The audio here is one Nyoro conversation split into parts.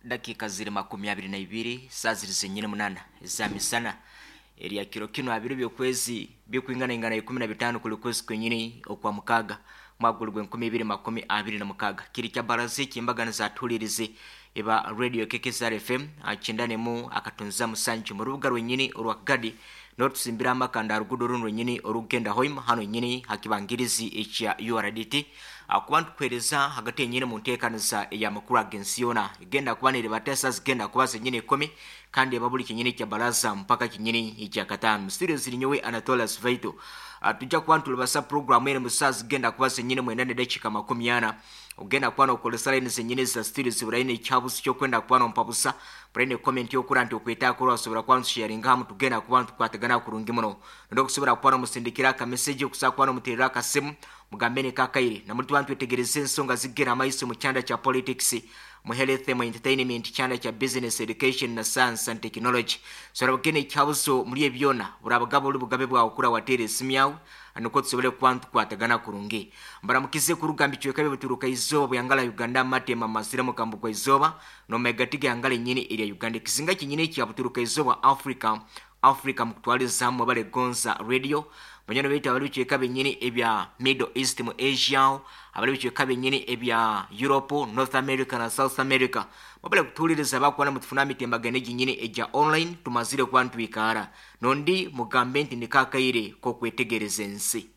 Dakika ziri 22, saa ziri zenyine 8 za misana erya kiro kino abiri by'okwezi bikwingana ingana 15 kuli kwezi kwenyini okwa mukaga mwaka guli gwe 2026. Kiri kya baraza ekyembagana zatulirize eba radio KKSR FM 91 akatunza musanju mu rubuga rwenyini orwa Kagadi, n'otusimbira amakanda rugudo runo rwenyini orugenda Hoima, hano nyini hakibangirizi ekya URDT, akuba ntukuhereza hagati yenyini mu nteekaniza ey'amakuru ag'ensi yoona egenda kuba neribatesa zigenda kuba zenyini 10, kandi eba buli kinyini kya baraza mpaka kinyini ekya kataano. Mu studio ziri nyowe Anatolas Vaito. Tujja kuba ntulibasa programu ene mu saa zigenda kuba zenyini 9 ne dakika 40. Ogenda kuba nokolesa line zenyini za studio ziburaine ekyabuzi kyokwenda kuba nompabusa buraine comment yokura nti okwetaako lwasobora kuba ntusharinga hamu, tugenda kuba ntukwatagana kurungi muno. Nokusobora kuba nomusindikira akameseji, okusobola kuba nomuterera akasimu mugambe ne kakaire namuli tuba ntwetegereza ensonga zigenda amaiso mu kyanda kya politics, mu health, mu entertainment, kyanda kya business, education na science and technology. So rabugene ekyabuzo muri ebyona burabaga buli bugabe bwawe kura wateera esimu yawe nukwo tusobole kuba ntukwatagana kurungi. Mbaramukize kurugamba icweka bituruka izooba buyangala Uganda, matema masira mukambuko izooba nomegati gangala nyini erya Uganda, ekizinga kinyini ekya buturuka izooba Africa, Africa mukutwaliza hamwe bale Gonza Radio banyana baitu abali bicweka benyini ebya Middle East, mu Asia, abali bicweka benyini ebya Europe, North America na South America, mubale kutuuliriza bakwana mutufuna emitembaganyo eginyini egya online. Tumazire kuba ntwikaara nondi mugambe nti nikakaire kokwetegereza ensi.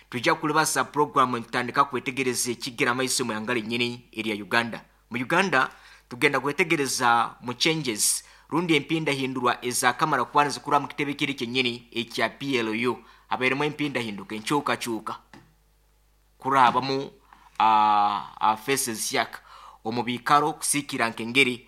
Tujja kulibasa programu ntutandika kwetegereza ekigira amaiso mu yangala enyini erya Uganda. Mu Uganda tugenda kwetegereza mu changes rundi empindahindurwa ezakamara kuba nizikura mu kitebe kiri kyenyini ekya PLU. Habairemu empindahinduka, enkyukakyuka kurabamu faces yak omu biikaro kusiikira nk'engeri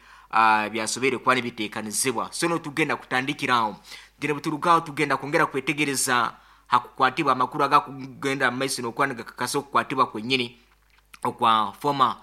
byasobeire kuba nibiteekanizibwa. So no tugenda kutandikiraho tugenda buturugaho tugenda kwongera kwetegereza hakukwatibwa amakuru agakugenda mu maiso n'okuba nigakakasa okukwatibwa kwenyini okwa former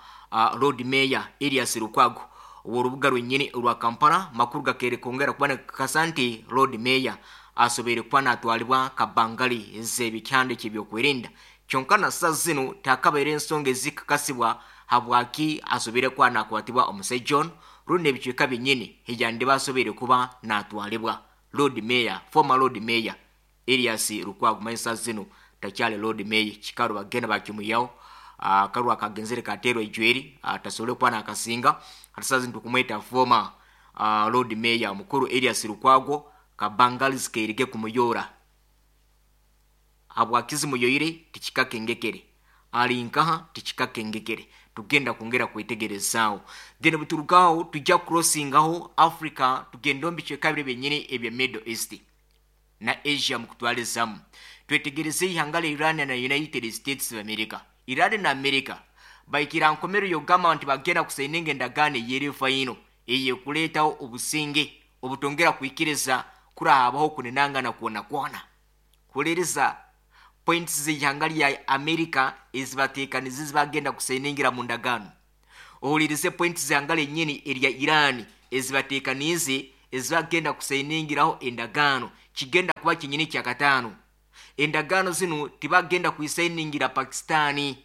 Lord Mayor Erias Lukwago ow'orubuga rwenyini orwa Kampala. Makuru gakeere kwongera kuba nigakakasa nti Lord Mayor asobeire kuba natwalibwa kabangali ez'ebikyanda eky'ebyokwerinda, kyonka na saa zinu takabaire ensonga ezikakasibwa habwaki asobeire kuba nakwatibwa omusajja ono rundi ebicweka byenyini ejandiba asobeire kuba natwalibwa. Lord Mayor, former Lord Mayor Erias Lukwago, manyi saa zinu takyali Lord Mayor, kikaru bagenda bakimuyaho akarwa akagenzere katerwa ejweri, tasobole kuba nakasinga. Hati saa zinu tukumweta former Lord Mayor omukuru Erias Lukwago. Kabangali zikairige kumuyora, habwaki zimuyoire tikikakengekere, ali nkaha tikikakengekere, tugenda kwongera kwetegerezaawo. Then buturugaho tujja crossingaho Africa, tugenda omu bicweka biri byenyini ebya Middle East na Asia mukutwalizamu, twetegereze ihanga lya Iran na United States of America. Iran na America baikira nkomero yogamba nti bagenda kusaininga endagaano eyeri final eyekuleetawo obusinge obutongera kwikiriza kurahabaho kunenangana kwona kwona. Kuliriza points z'ihanga lya America ezibateekanize zibagenda kusainingira mu ndagaano, ohulirize points z'ihanga lyennyini erya Iran ezibateekanize ezibagenda kusainingiraho endagaano. Kigenda kuba kinyini kya kataano. Endagaano zinu tibagenda kuisainingira Pakistani,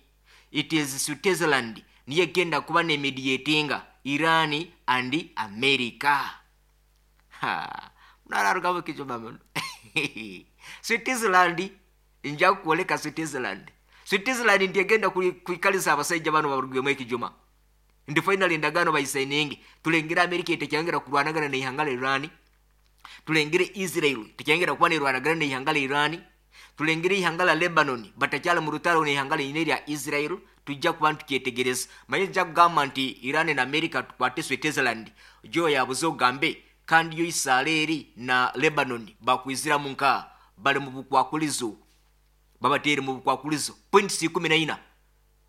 it is Switzerland niyo egenda kuba nemediatinga Iran and America. Munararugamu ekijuma muno. Switzerland, nja kukwoleka Switzerland. Switzerland nti egenda kwikaliza abasajja bano barugemu ekijuma ndi final endagaano bayisaininge, tulengere America tekyongera kurwanagana neihanga lya Iran, tulengere Israel tekyongera kuba nerwanagana neihanga lya Iran, tulengere ihanga lya Lebanon batakyali mu rutaro neihanga lyine lya Israel. Tujja kuba ntukyetegereza. Manye nja kugamba nti Iran na America tukwate Switzerland jo yabuze ogambe, kandi yo Israeli na Lebanon bakwiziramu nka bali mu bukwakulizo, babateere mu bukwakulizo. Points 14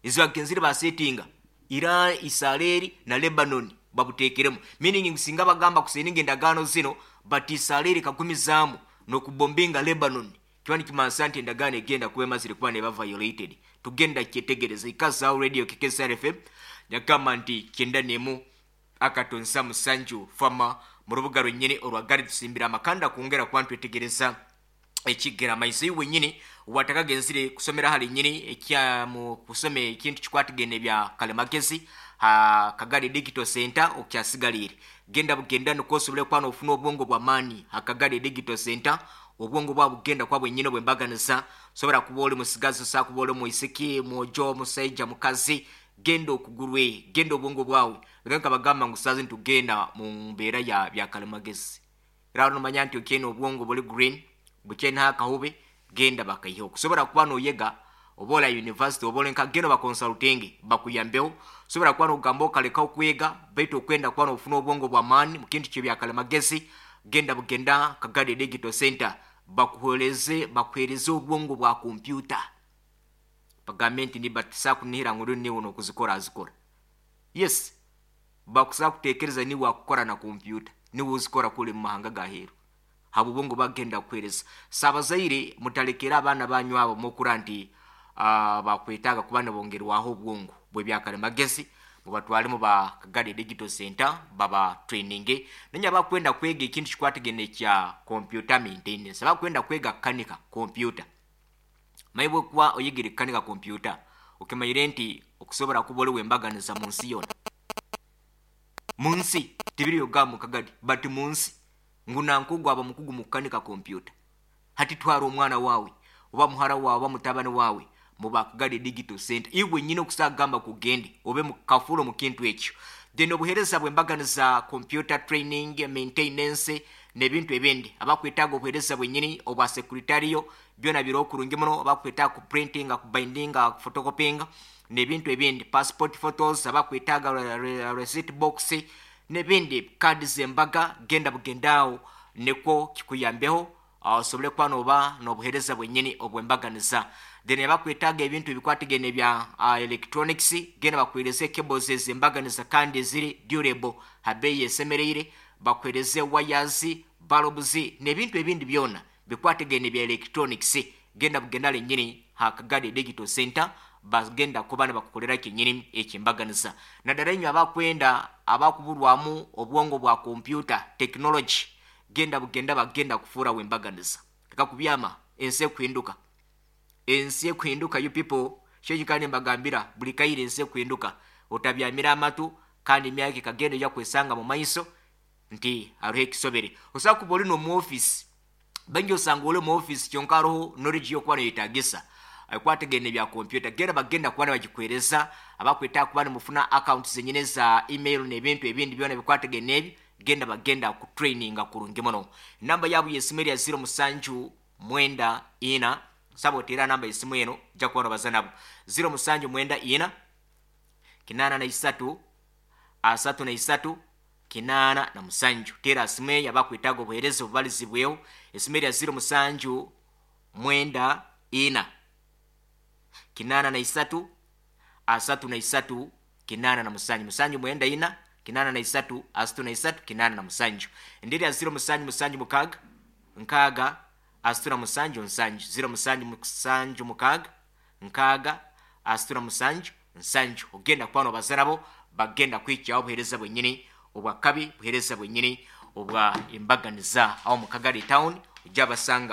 ezibagenzire basetinga Iran, Israeli na Lebanon babuteekeremu, meaning singa bagamba kusaininga endagaano zino but Israeli kagumizaamu n'okubombinga Lebanon, kiba nikimansa nti endagaano egenda kuba emazire kuba neba violated. Tugenda kyetegereza. Ikazaawo radio KKSR FM, yagamba nti 91.7 fama mu rubuga rwennyini orwa Gari, tusimbira amakanda kwongera kuba ntwetegereza Ekigera maiso iwe wenyini watakagenzire kusomera hali nyini ekya mu kusome ekintu kikwatagene bya kalimagezi ha Kagadi Digital Center, okyasigaliire genda bugenda nukwo osobole kuba nofuna obwongo bw'amaani. Ha Kagadi Digital Center obwongo bwa bugenda kuba bwenyini bwembaganiza. Sobora kuba oli musigazi, osobola kuba oli mwisiki, mwojo, musaija, mukazi, genda okugurwe, genda obwongo bwawe. Nka bagamba ngu sazi ntugenda mu mbeera ya bya kalimagezi, era nomanya nti okyene obwongo buli green bukyene akahube, genda bakaiheho kusobora kuba noyega. Oba ola university, oba olenka, genda baconsulting bakuyambeho. Sobola kuba nogamba okaleka okwega, baitu okwenda kuba nofuna obwongo bw'amaani mu kintu kyebya kalimagezi, genda bugenda Kagadi Digital Center bakuhereze, bakuhereze obwongo bwa kompyuta, bagambe nti nibatisa kunihira ngu niwe nokuzikora azikora. Yes, bakusa kutekereza niwe akukora na kompyuta, niwe uzikora kule mu mahanga gaheru habo obwongo bagenda kuhereza. Sabazaire mutalekera abaana banyu abo mukura nti bakwetaaga kuba nibongerwaho obwongo bw'ebyakalimagezi, mubatwale mu ba Kagadi Digital Center baba training. Nenya bakwenda kwega ekintu kikwatagene kya computer maintenance, bakwenda kwega kukanika computer, maibwe kuba oyigire kukanika computer, okimanyire nti okusobola kuba oli wembaganiza mu nsi yona, mu nsi tibiri yoga mu Kagadi, but mu nsi ngu nankugu aba mukugu mu kukanika kompyuta. Hati twara omwana wawe oba muhara wawe oba mutabani wawe mu ba Kagadi Digital Center, iwe nyine okusagamba kugende obe mukafuro mu kintu ekyo. Then obuhereza bwembaganiza, computer training, maintenance n'ebintu ebindi, abakwetaaga obuhereza bwenyini obwa secretarial, byona biri okurungi muno. Abakwetaaga ku printing, ku binding, ku photocopying n'ebintu ebindi, passport photos, abakwetaaga receipt box n'ebindi, kadi zembaga, genda bugendaawo nikwo kikuyambeho osobole kuba noba n'obuhereza bwenyini obwembaganiza. Then abakwetaaga ebintu ebikwatagene bya electronics, genda bakuhereze cables ezembaganiza kandi eziri durable habeeyi esemereire, bakuhereze wires, bulbs n'ebintu ebindi byona bikwatagene bya electronics. Genda bugenda lenyini ha Kagadi Digital Center, bagenda kuba nibakukolera kenyini ekyembaganiza. Naddala inyo abakwenda abakuburwamu obwongo bwa computer technology, genda bugenda, bagenda kufuura wembaganiza. Leka kubyama, ensi ekuhinduka, ensi ekuhinduka. You people, kyo mbagambira buli kaire, ensi ekuhinduka, otabyamira amatu, kandi emyaka ekagenda ojja kwesanga mu maiso nti hariho ekisobere. Osobola kuba oli n'omu office, baingi osanga oli mu office kyonka hariho knowledge yokuba noyetagisa ekwatagene bya kompyuta, genda bagenda kuba nibagikwereza. Abakwetaaga kuba nimufuna account zenyine za email n'ebintu ebindi byona bikwatagene ebyo, genda bagenda kutraininga kurungi muno. Namba yabo yesimu erya 0794, saba oteera namba yesimu eno, ojja kuba nobaza nabo, 0794 83 33 87. Teera simu eyo abakwetaaga obuheereza obubalizibweho. Esimu erya 0794 83 33 87, 794 83 33 87. Endi erya 0776 60 37 7, 0776 60 37 7. Ogenda kuba nobaza nabo, bagenda kwikyaho obuheereza bwenyini obwakabi, buheereza bwenyini obwa embaganiza aho mu Kagadi town ojja basanga.